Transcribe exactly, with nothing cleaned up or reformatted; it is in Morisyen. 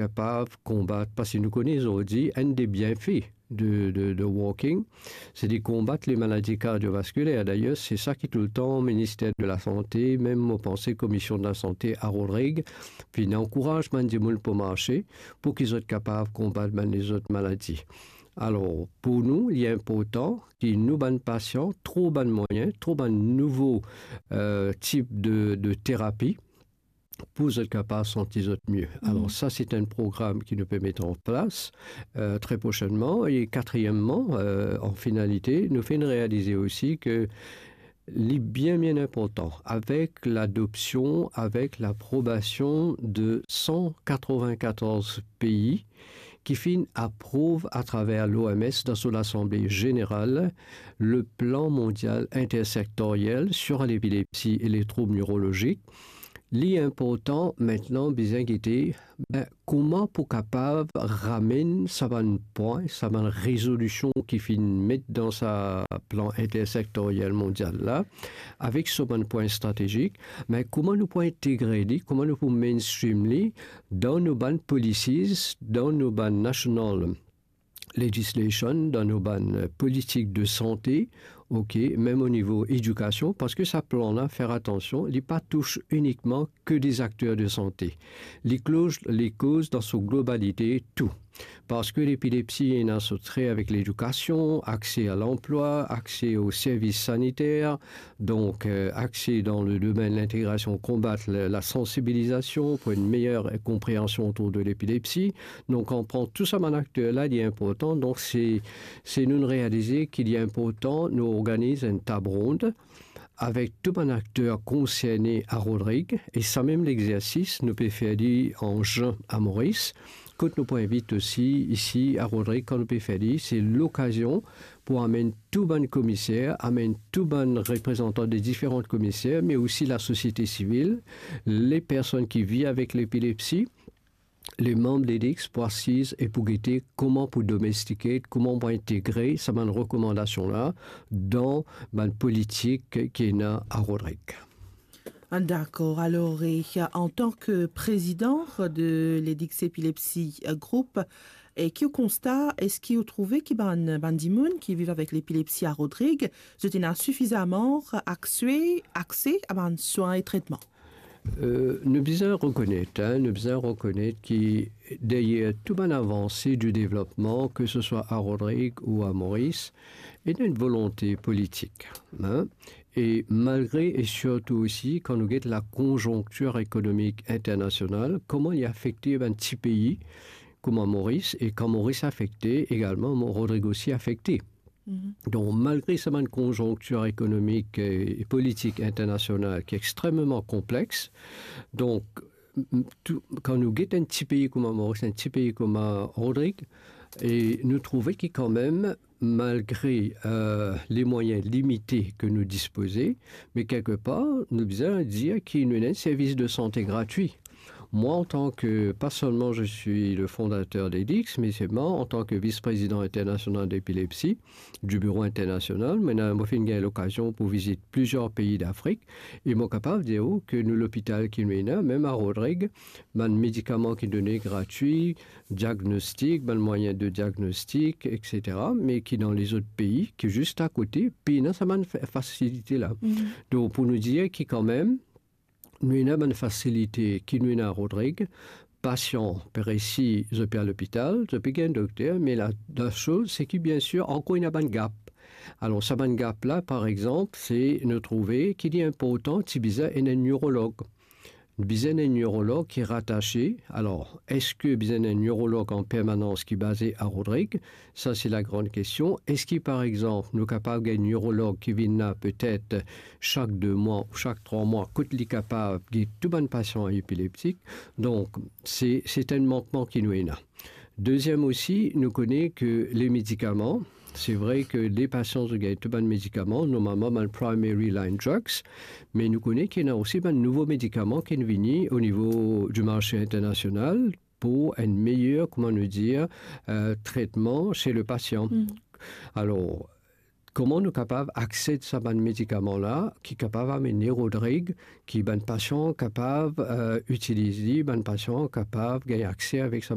kapav konbat, parski nou kone zordi enn de bienfe de, de, de walking, se de konbat le maladi kardiovaskiler. Dayer, se sa ki toultan Minister de la Sante, mem mo panse Komision de la Sante a Rodrig, finn ankouraz bann dimoun pou marse, pou ki zot kapav konbat bann lezot maladi. Alor, pou nou, li inportan ki nou bann pasian trouv bann mwayin, trouv bann nouvo, eh, tip de, de terapi, pou zot kapav santi zot mie. Alor, sa, se enn program ki nou pe met an plas, eh, tre prosennman. E katriemman, eh, an finalite, nou finn realize osi ke li bien, bien inportan, avek ladopsion, avek laprobasion de san katrovin-katorz pei ki finn aprouv atraver l'O M S dan so Lasanble Zeneral, le Plan Mondial Intersektoriel sur l'Epilepsie et les Troubles Neurologiques. Li inportan, mintnan, bizin gete, be, kouma pou kapav ramenn sa bann pwin, sa bann rezolision ki finn met dan sa plan intersektoriel mondial la, avek so bann pwin stratezik, me kouma nou pou integre li, kouma nou pou mainstream li dan nou bann policies, dan nou bann national legislation, dan nou bann, eh, politik de sante, ok, mem o nivo edikasion, parski sa plan la, fer atansion, li pa tous inikman ke de akter de sante. Li koz, li koz dan so globalite tou. Parski lepilepsi ena so tre avek ledikasion, akse a lanplwa, akse o servis saniter, donk, eh, akse dan le domenn lintegrasion, konbat la, lasansibilizasion pou enn meyer konpreansion otour de lepilepsi. Donk, an pran tou sa bann akter la, li inportan. Donk, se, se nou realize ki li inportan nou organiz enn tab ronn avek tou bann akter konserne a Rodrig, e sa mem lexersis, nou pe fer li an zin a Moris, kot nou pou invit osi isi a Rodrig, kan nou pe fer li, se lokazion pou amenn tou bann komiser, amenn tou bann reprezantan de diferan komiser, me osi lasosiete sivil, le personn ki viv avek lepilepsi, le manb LEDICS pou asiz e pou gete kouma pou domestike, kouma pou integre sa bann rekomandasion la dan bann politik ki ena a Rodrig. Ah, dakor. Alor, e, antan ke prezidan de LEDICS Epilepsy Group, e ki ou konsta, eski ou trouve ki bann, bann dimoun ki viv avek lepilepsi a Rodrig, zot ena sifizaman akse, akse a bann swin e tretman? Eh, nou bizin rekonet, hein, nou bizin rekonet ki deryer tou bann avanse di devlopman, ke se swa a Rodrig ou a Moris, ena enn volonte politik, hein. E malgre, e sirtou osi, kan nou get lakonzonktir ekonomik internasional, kouma li afekte bann ti pei kouma Moris, e kan Moris afekte, egalman, Mo-, Rodrig osi afekte. Mhm. Donk, malgre sa bann konzonktir ekonomik, eh, e politik internasional ki extrememan konplex, donk, m-, m-, tou, kan nou get enn ti pei kouma Moris, enn ti pei kouma Rodrig, e nou trouve ki kanmem, malgre, eh, le mwayin limite ke nou dispoze, me kelkepar, nou bizin dir ki nou ena enn servis de sante gratwi. Mwa, antan ke, pa selman je suis le fondateur de LEDICS, me selman antan ke vis-prezidan internasional depilepsi, di biro internasional, mo ena, mo finn gagn lokazion pou vizit plizier pei Dafrik, e mo kapav dir ou ke nou lopital ki nou ena, mem a Rodrig, bann medikaman ki done gratwi, diagnostik, bann mwayin de diagnostik, et cetera, me ki dan lezot pei, ki zis akote, pena sa bann fa-, fasilite la. Mhm. Donk, pou nou dir ki kanmem, nou ena bann fasilite ki nou ena a Rodrig, pasian pe resi, zot pe al lopital, zot pe gagn dokter, me la, la soz, se ki, biensir, ankor ena bann gap. Alor, sa bann gap la, par exanp, se nou trouve ki li inportan, ti bizin enn neurolog. Bizin enn neurolog ki ratase. Alor, eski bizin enn neurolog an permanans ki baze a Rodrig? Sa, se lagran kestion. Eski, par exanp, nou kapav gagn neurolog ki vinn la petet sak de mwa ou sak trwa mwa, kot li kapav get tou bann pasian epileptik? Donk, se, se enn mankman ki nou ena. Deziem osi, nou kone ke le medikaman, se vre ke le pasian zot gagn tou bann medikaman, normalman bann primary line drugs, me nou kone ki ena osi bann nouvo medikaman ki vini o nivo di marse internasional, pou enn meyer, kouma nou dir, eh, tretman se le pasian. Mm. Alor, kouma nou kapav aksed sa bann medikaman la, ki kapav amenn Rodrig, ki bann pasian kapav, eh, itiliz li, bann pasian kapav gagn akse avek sa